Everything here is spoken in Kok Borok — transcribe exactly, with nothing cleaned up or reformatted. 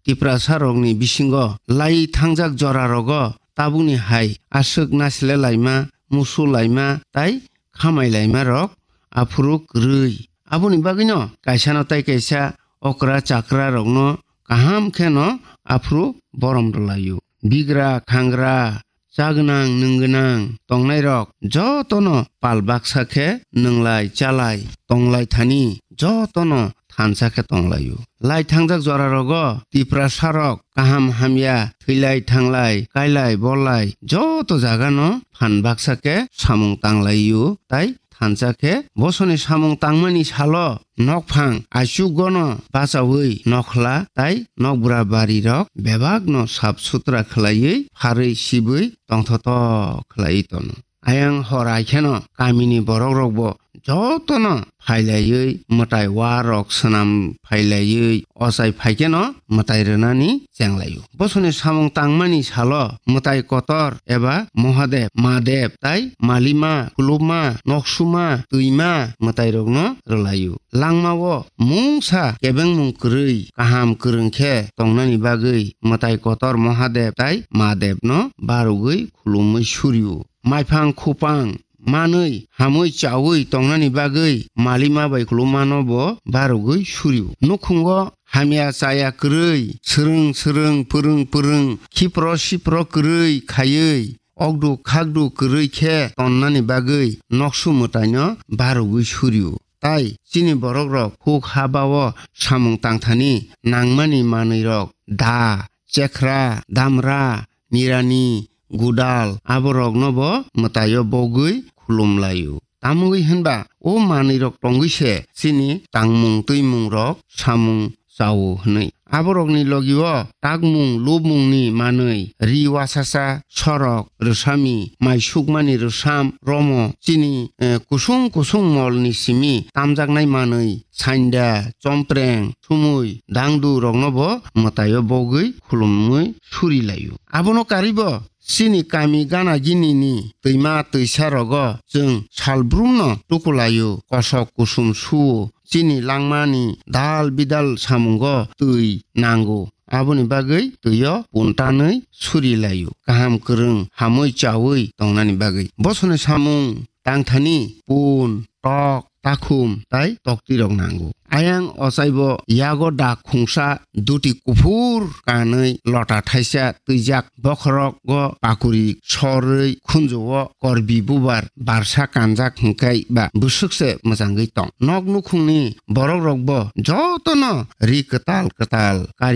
Tiprasarokni bisingo lai thangjak jorarogo tabukni hai aswk nasilelaima, musulaima tai khamailaima rok aphuru kwrwi. Aboni bagwino kaisano tai kaisa okra chakra rokno kaham kheno aphuru borom rwlaio. Bigra, khangra, chagwnang, nwngwnang tongnairok jotono pal baksa khe nwnglai, chalai, tonglai thani jotono thansa khe tonglaio. Lai thangjak jorarogo Tiprasarok kaham hamya, thwilai thanglai, kailai bolai joto jagano phan baksa khe samung tanglaio, tai thansa khe bosoni samung tangmani salo nokphang aichukgono bachaui nokhla tai nokbura barirok bebakno sap sutra khlaiwi pharwi sibwi tongthotok khlaiwi tono. Ayang hor ai kheno kamini borokrokbo jotono phailaiwi mwtai warok swnam phailaiwi ochai phaikheno mwtai rwnani chenglaio. Bosoni samung tangmani salo mwtai kotor eba Mohadev, Madev tai malima, khuluma, noksuma, twima mwtairokno rwlaio. Langmao mungsa kebengmung kwrwi kaham kwrwng khe tongnani bagwi mwtai kotor Mohadev tai Madevno barogwi khulumwi surio. Maiphang khupang manwi hamwi chaui tongnani bagwi malima bai khulumano bo barogwi surio. Nukhungo hamya chaya kwrwi, swrwng swrwng, pwrwng pwrwng, khipro sipro kwrwi khaiwi, okdu khakdu kwrwi khe tonnani bagwi noksu mwtaino barogwi surio. Tai chini borokrok huk ha bao samung tangthani nangmani manwirok da, chekhra, damra, mirani, gudal, aborokno bo mwtaio bogwi khulumlaio. Tamogwi hwnba o manwirok tongwi se chini tangmung twimungrok samung chao hwnwi. Aborokni logio takmung lubmungni manwi, ri wasasa, sorok, rwsami, mai sukmani rwsam, romo, chini, eh, kusung kusung molni simi tamjaknai manwi, sainda, chompreng, sumui, dangdu rokno bo mwtaio bogwi khulumwi suri laio. Abono karwibo chini kami gana gini ni twima twisa rogo chwng salbrumno tukulaio, kosok kusum suo, chini langmani dal bidal samungo twi nango. Aboni bagwi twio puntanwi suri laio, kaham kwrwng hamwi chaui tongnani bagwi. Bosoni samung tangthani pun, tok, takhum tai toktirok nango. Ayang ochaibo yago dak khungsa duti kuphur kanwi lota thaisa twijak bokhorogo pakuri sorwi khunjuo korbi bubar barsa kanjak hwnkhe ba bwswkse mwchangwi tong. Nok nukhungni borokrokbo jotono ri kwtal kwtal kari